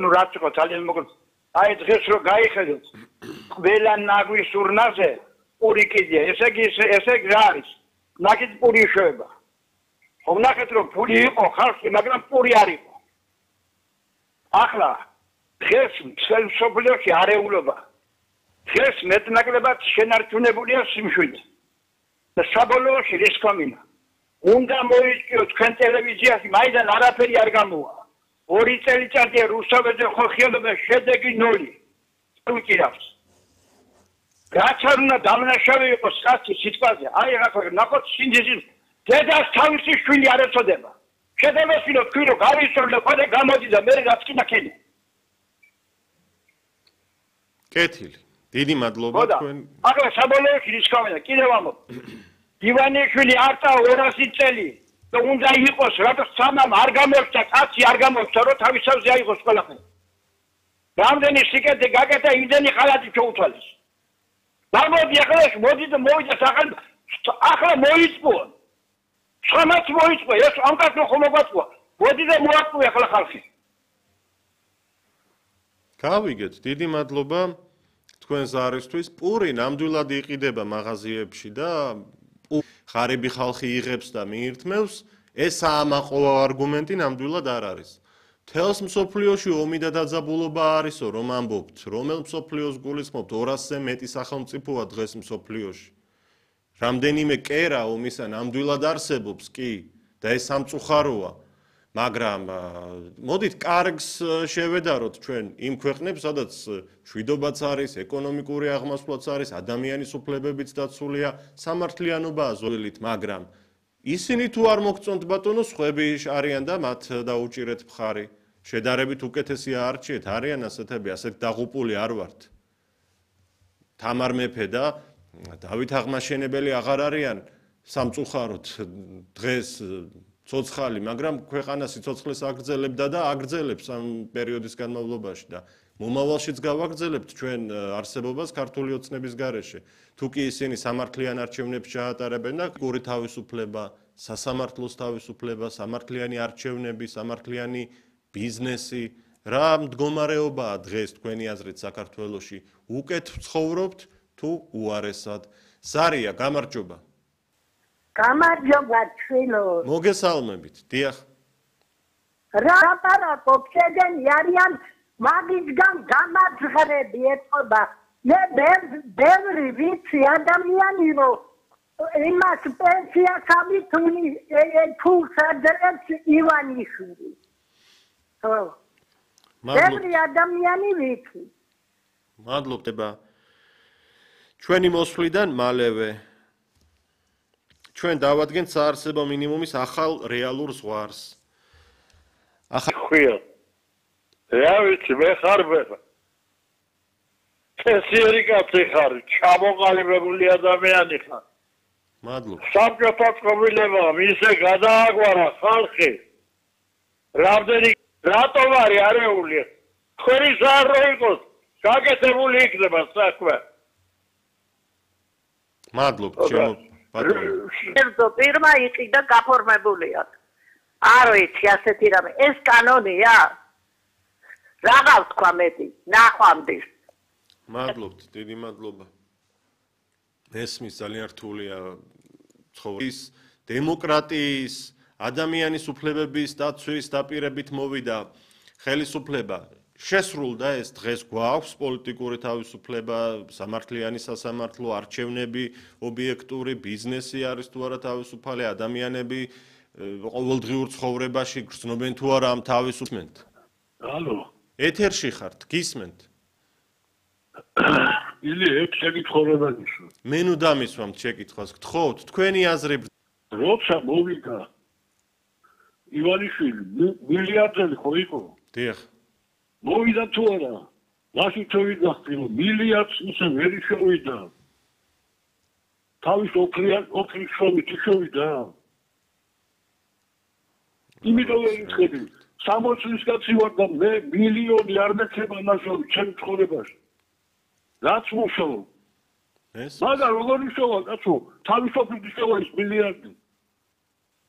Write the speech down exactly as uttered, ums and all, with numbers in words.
ნუ რაც იყო ძალიან მოკლედ. აი დღეს რო გაიხედოთ ყველა ნაგვის ურნაზე პური კიდია. ესე იგი ესე იგი რა არის? ნაკით პური შეება. ხო ნახეთ რომ პური იყო ხალხი, მაგრამ პური არ იყო. ახლა დღეს მთელ მსოფლიოში არეულობა. დღეს მეტნაკლებად შენარჩუნებულია სიმშვიდე. და საბოლოოში რის კომინა. უნდა მოიჭიო თქვენ ტელევიზიაში, მაიდან არაფერი არ გამოვა. ორი წელიწადია რუსთაველზე ხოხიელობა შედეგი ნული. უჭირავს. რაც არ უნდა დამნაშავე იყოს კაცი სიტყვაზე. აი ახლა ნახოთ სინძიზის დედას თავისი შვილი არ ეწოდება. შედევასილო თქვი რომ გავისწორდა ხოლმე გამოდი და მე რაც კი ნახენი. კეთილი. დიდი მადლობა თქვენ. ახლა საბოლოოში რის კომინა კიდევ ამბობ. ივანიშვილი არტა ორასი წელი და უნდა იყოს რატო სამამ არ გამოსცა კაცი არ გამოსცა რომ თავისავზე აიღოს ყველაფერი. რამდენი სიკეთე გაკეთა იმდენი ხალათი შეუცვალეს. გამოდი ახლა მოდი და მოვიდა ახლა ახლა მოიწყო. სამაც მოიწყო ეს ამ კაცო ხომ მოგვაწვა. მოდი და მოაწყო ახლა ხალხი. გავიგეთ, დიდი მადლობა თქვენს არისთვის. პური ნამდვილად იყიდება მაღაზიებში და ხარები ხალხი იღებს და მიირთმევს, ეს საამაყო არგუმენტი ნამდვილად არ არის. თელს მსოფლიოში ომი და დაძაბულობა არისო, რომ ამბობთ, რომელ მსოფლიოს გულისხმობთ ორასზე მეტი სახელმწიფოა დღეს მსოფლიოში. რამდენიმე კერა ომისა ნამდვილად არსებობს კი და ეს სამწუხაროა, მაგრამ მოდით კარგს შევედაროთ ჩვენ იმ ქვეყნებს, სადაც მშვიდობაც არის, ეკონომიკური აღმასვლაც არის, ადამიანის უფლებებიც დაცულია, სამართლიანობაა ზოლით, მაგრამ ისინი თუ არ მოგწონთ ბატონო, სხვები არიან და მათ დაუჭირეთ მხარი. შედარებით უკეთესი არჩიეთ, არიან ასეთები, ასეთ დაღუპული არ ვართ. თამარ მეფე და დავით აღმაშენებელი აღარ არიან სამწუხაროდ დღეს ცოცხალი, მაგრამ ქვეყანა სიცოცხლეს აგრძელებდა და აგრძელებს ამ პერიოდის განმავლობაში და მომავალშიც გავაგრძელებთ ჩვენ არსებობას ქართული ოცნების გარეშე. თუ კი ისინი სამართლიან არჩევნებს ჩაატარებენ და გური თავისუფლება, სასამართლოს თავისუფლება, სამართლიანი არჩევნები, სამართლიანი ბიზნესი, რა მდგომარეობაა დღეს თქვენი აზრით საქართველოში? უკეთ ცხოვრობთ თუ უარესად? ზარია, გამარჯობა. გამარჯობა ჩვენო. მოგესალმებით, დიახ. რა ლაპარაკობ, შეგენი არიან მაგისგან გამაძღრები ეთყობა. მე ბევრი ვიცი ადამიანი რომ იმას პენსიას ამითუნი ფულს აძლევს ივანიშვილი. ხო. ბევრი ადამიანი ვიცი. მადლობდება. ჩვენი მოსვლიდან მალევე ჩვენ დავადგენთ საარსებო მინიმუმის ახალ რეალურ ზღვარს. ახალ ხვია. რა ვიცი, მე ხარ ვეღა. წესიერი კაცი ხარ, ჩამოყალიბებული ადამიანი ხარ. მადლობა. საბჭოთა წყობილებამ ისე გადააგვარა ხალხი. რამდენი რატომ არის არეული? ხერი ზარ რო იყოს, გაკეთებული იქნება საქმე. მადლობ, ჩემო ერთო პირმა იყიდა გაფორმებულია. არ ვიცი ასეთი რამე. ეს კანონია? რაღაც თქვა მეტი, ნახვამდის. მადლობთ, დიდი მადლობა. ესმის ძალიან რთულია ცხოვრების, დემოკრატიის, ადამიანის უფლებების დაცვის დაპირებით მოვიდა ხელისუფლება. შესრულდა ეს დღეს გვაქვს პოლიტიკური თავისუფლება, სამართლიანი სასამართლო, არჩევნები, ობიექტური ბიზნესი არის თუ არა თავისუფალი, ადამიანები ყოველდღიურ ცხოვრებაში გრძნობენ თუ არა ამ თავისუფლებას. ალო. ეთერში ხართ, გისმენთ? ილი ეგ შეკითხებადიშო. მე ნუ დამისვამთ შეკითხვას, გთხოვთ, თქვენი აზრი. როცა მოვიდა ივანიშვილი, მილიარდელი ხო იყო? დიახ. მოვიდა თუ არა? მაშინ თოვიდა რომ მილიარდს ისე ვერ შევიდა. თავის ოქრიან ოქრის შრომით შევიდა. იმიტომ ვერ იხები. სამოცი წლის კაცი ვარ და მე მილიონი არ მექნება ნაშრომი ჩემ ცხოვრებაში. რაც მუშაობ. ეს? მაგრამ როგორ მუშაობ, კაცო? თავისუფლების შევა ის მილიარდი.